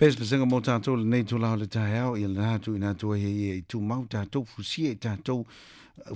Pesepesega mo tātou lenei itula o le taeao, ia lena tuuina atu ai ia i tumau tātou fusia i tātou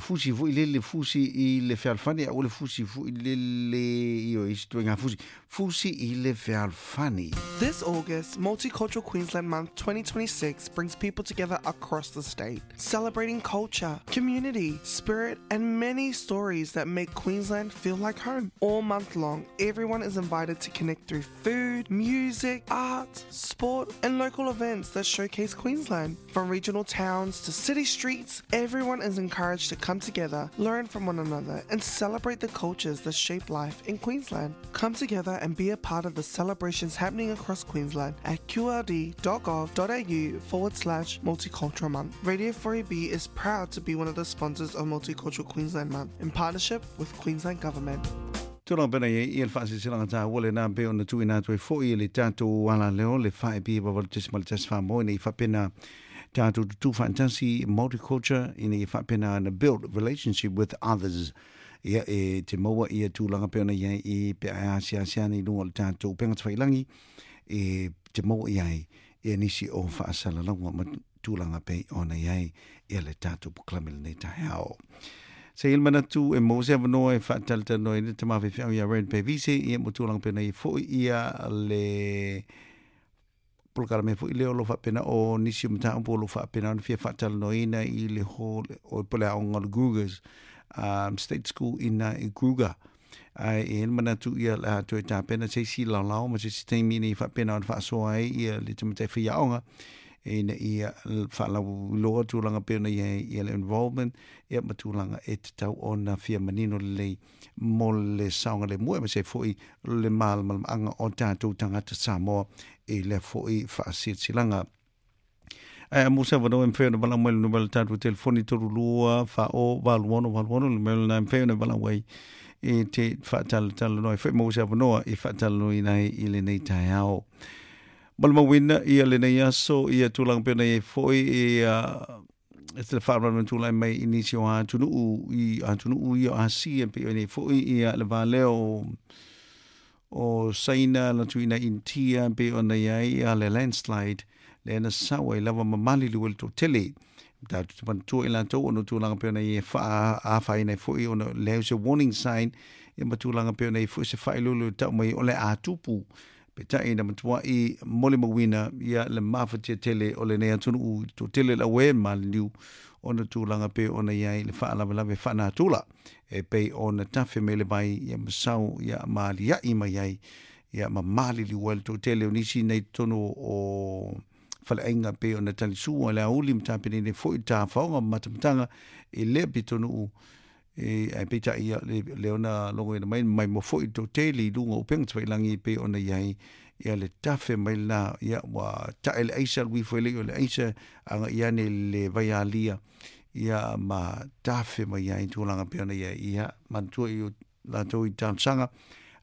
fusi foi lele fusi i le fealofani a ua le fusi foi lele i o isi ituaiga fusi fusi i le fealofani. This August, Multicultural Queensland Month 2026 brings people together across the state, celebrating culture, community, spirit, and many stories that make Queensland feel like home. All month long, everyone is invited to connect through food, music, art, sport, and local events that showcase Queensland. From regional towns to city streets, everyone is encouraged to come together, learn from one another, and celebrate the cultures that shape life in Queensland. Come together and be a part of the celebrations happening across Queensland at qld.gov.au forward slash multicultural month. Radio 4AB is proud to be one of the sponsors of Multicultural Queensland Month in partnership with Queensland Government. Tulaga pena i ai ia le faasilasilaga taua lena e pei ona tuuina atu ai foi e le tatou alaleo le 4AB 8.14 mo ina ia faapena tatou tutū faatasi multiculture ina ia faapena ona build relationship with others ia e te maua ia tulaga pei ona i ai i pe a asiasi ana i luga o le tatou upega tafailangi e te maua i ai ia nisi o faasalalauga ma tulaga pei ona i ai ia le tatou polokalame lenei taeao. Se i le manatu e maua se avanoa e faatalatalanoa ai le tama faifeau ia Ren Pevise ia mo tulaga pei ona i ai foi ia le polokalame foi lea o lo o faapena o nisi o mataupu o lo o faapena ona fia faatalanoaina i le hall o po le aoga o le Grugers State School ina i Kruger. Ae e i ai le manatu ia le a toe tapena se isi laolao ma se isi taimi ina ia faapena ona faasoa ai ia le tamaitai faiaoga ina ia faalauiloa tulaga pei ona i ai ia le involvement ia ma tulaga e tatau ona fia manino lelei mo le saogalemu aemaise ai foi le malamalamaaga o tatou tagata Samoa i lea foi faasilasilaga. Ae a mo se avanoa e mafai ona valaau mai le numera o le tatou telefoni 32 40 86 86 le numera lena e mafai ona valaau ai e te faatalatalanoa ai foi maua se avanoa e faatalanoaina ai i lenei taeao. Molimauina ia lenei aso ia tulaga pei ona i ai foi ia e te faalavelave na tulai mai i nisi o atunuu i atunuu ia o Asia pei ona i ai foi ia le va lea o o Saina na tuuina Initia pei ona i ai ia le landslide lea na sau ai lava ma maliliu ai le toatele. Tatou te manatua i latou ona o tulaga pei ona i ai e faaafaina ai foi ona leai o se warning sign ia ma tulaga pei ona i ai foi se faailoilo e tau mai o le a tupu. Peitai na matuai molimauina ia le mafatia tele o lenei atunuu i le toatele o le auē maliliu ona tulaga pei ona i ai le faalavelave faanatura e pei ona tafe mai le vai ia ma sau ia ma aliaʻi mai ai ia ma maliliu ai le toatele o nisi nei totonu o faleaiga pei ona talisua le aoauli ma tapenene foi tafaoga ma matamataga i lea pitonuu e ae peitai ia le lea ona logoina mai maimoa foi le toatele i luga o upega tafailagi e pei ona i ai ia le tafe mai lena ia ua tae le aisa alu ifo e le i o le aisa agai ane i le vaialia ia ma tafe mai ai tulaga pei ona i ai ia manatua i o latou i talosaga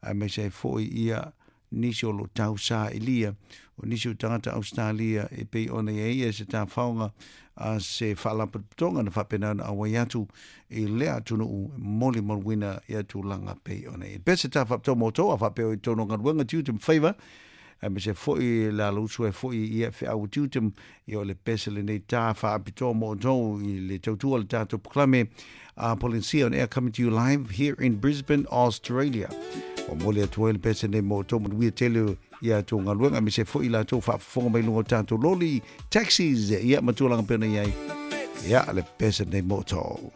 aemaise ai foi ia nisi o lo o tausailia, o nisi o tagata Ausetalia e pei ona i ai ia se tafaoga a se faalapotopotoga na faapena ona auai atu i lea atunuu e molimauina ia tulaga pei ona i ai. Pea se ta faapitoa mo outou a faapea o i totonu o galuega tiute ma faiva, aemaise foi le alausu ai foi ia feau tiute ia o le pese lenei ta faapitoa mo outou i le tautua o le tatou polokalame a Polynesia on Air coming to you live here in Brisbane, Australia. O moli atu ai le pese nei mo outou manuia tele ia tou galuega aemaise foi i latou faafofoga mai luga o tatou loli, taxis, ia ma tulaga pei ona i ai. Ia le pese nei mo outou.